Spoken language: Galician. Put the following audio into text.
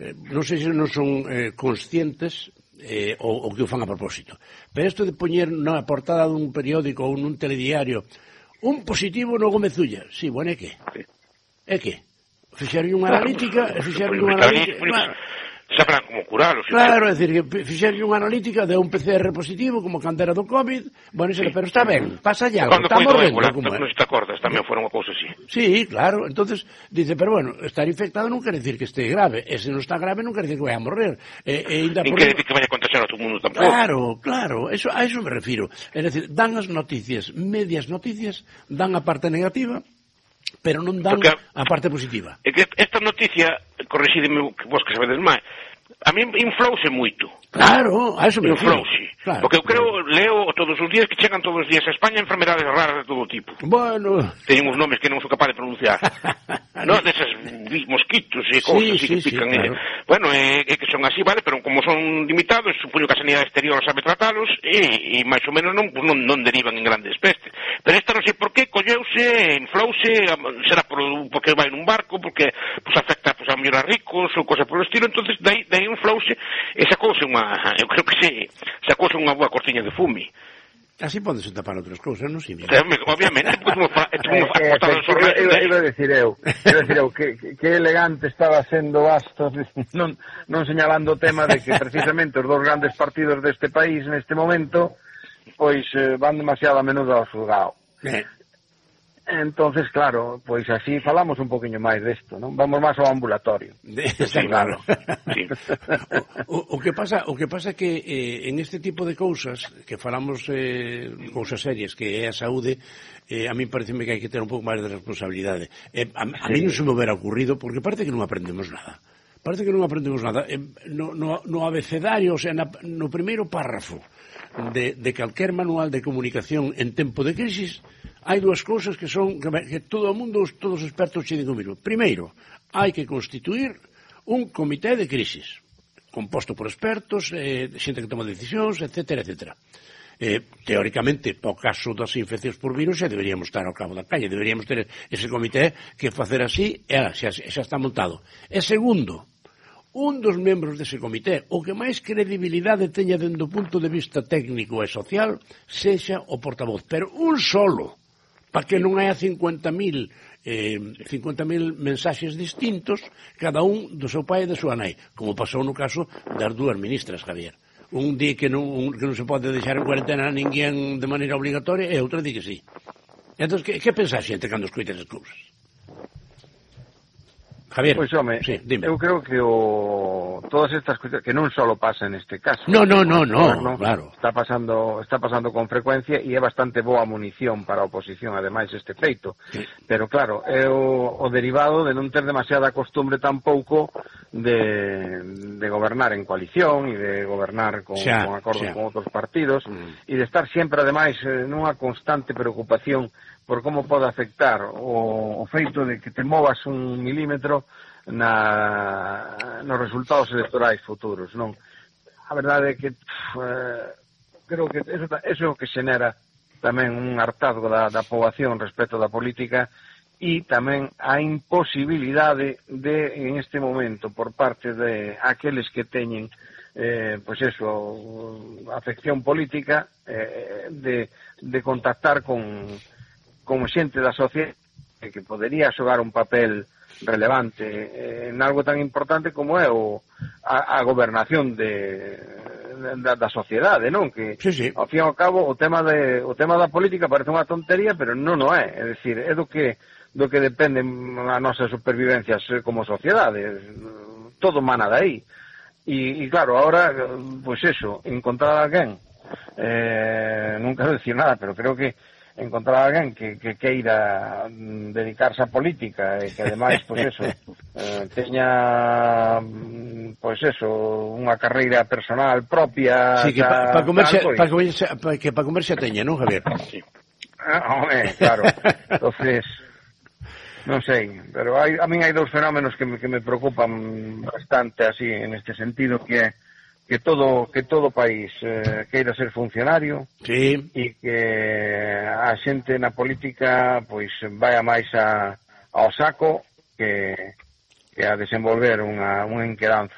non sei se non son conscientes ou que o fan a propósito. Pero isto de poñer na portada dun periódico ou nun telediario un positivo no Gómez Ulla, sí, bueno, é que? Fixeron unha analítica sabrán como curalo. Claro, é dicir, que fixeron unha analítica de un PCR positivo como cando era do COVID, bueno, pero está ben, pasa ya, está morrendo. Non se te acordas, tamén fora unha cousa así. Sí, claro, entonces dice, pero bueno, estar infectado non quere decir que este grave, e se non está grave non quere decir que vai a morrer. Non quere decir que vai a contagiar a todo o mundo tampouco. Claro, a eso me refiro. É dicir, dan as noticias, medias noticias, dan a parte negativa, pero non dan a parte positiva. É que esta noticia, corrixídeme vos que sabedes máis, a mí inflouse moito. Claro, a eso me refiro. Claro. Porque eu leo todos os días que chegan todos os días a España enfermedades raras de todo tipo. Bueno... Teñen uns nomes que non sou capaz de pronunciar. Non, desas mosquitos e cousas así que pican. Claro. Bueno, é que son así, vale, pero como son limitados, supoño que a sanidade exterior sabe tratalos e máis ou menos non derivan en grandes pestes. Pero esta non sei por qué, colleuse, inflouse, será porque vai nun barco, porque afecta a mellor a ricos ou cosa polo estilo, entonces dai inflouse e sacouse eu creo que sacouse unha boa cortiña de fume. Así podes tapar outras cousas, non? Sí, obviamente. Iba a decir eu que elegante estaba sendo Bastos non señalando o tema de que precisamente os dos grandes partidos deste país neste momento pois van demasiado a menudo ao xulgado. Entonces, claro, pois así falamos un poquinho máis desto, non? Vamos máis ao ambulatorio. Está claro. Sí. O que pasa é que en este tipo de cousas, que falamos cousas serias, que é a saúde, a mí pareceme que hai que ter un pouco máis de responsabilidade. A mí non se me hubiera ocurrido, porque parece que non aprendemos nada. No abecedario, o sea, no primeiro párrafo de calquer manual de comunicación en tempo de crisis, hai dúas cousas que son que todo o mundo, todos os expertos che digo mismo. Primeiro, hai que constituir un comité de crisis composto por expertos, xente que toma decisións, etcétera, etcétera. Teóricamente, para o caso das infeccións por virus, xa deberíamos estar ao cabo da calle, deberíamos ter ese comité que facer así, xa está montado. E segundo, un dos membros dese comité, o que máis credibilidade teña dende o punto de vista técnico e social, sexa o portavoz, pero un solo, para que non haya 50.000 mensaxes distintos, cada un do seu pai e da súa nai, como pasou no caso das dúas ministras, Javier. Un di que non se pode deixar en cuarentena a ninguén de maneira obligatoria e outro di que sí. Entón, que pensa a xente cando escoita as cousas? Javier, pois, home, sí, dime. Eu creo que todas estas cousas que non só pasa neste caso. No, claro. Está pasando con frecuencia e é bastante boa munición para a oposición, ademais, este feito. Sí. Pero, claro, é o derivado de non ter demasiada costumbre tampouco de gobernar en coalición e de gobernar con acordos con outros partidos e de estar sempre, ademais, nunha constante preocupación por como pode afectar o feito de que te movas un milímetro nos resultados electorais futuros, non? A verdade é que creo que eso é o que xenera tamén un hartazgo da poboación respecto da política e tamén a imposibilidade en este momento por parte de aqueles que teñen afección política de contactar con xente da sociedade que podería xogar un papel relevante en algo tan importante como é a gobernación da sociedade, non? Que, sí. Ao fin e ao cabo, o tema da política parece unha tontería, pero non o é. É dicir, é do que depende a nosa supervivencia como sociedade. Todo mana de aí. E claro, ahora, pois encontrar alguén, non quero decir nada, pero creo que encontrar alguén que queira dedicarse á política e que ademais, teña unha carreira personal propia. Sí, que para comer xa teña, non, Javier? Sí. Claro. Entonces, non sei, pero a min hai dous fenómenos que me preocupan bastante así en este sentido, que é que todo país queira ser funcionario, sí, e que a xente na política pois vai máis ao saco que a desenvolver unha enquedanza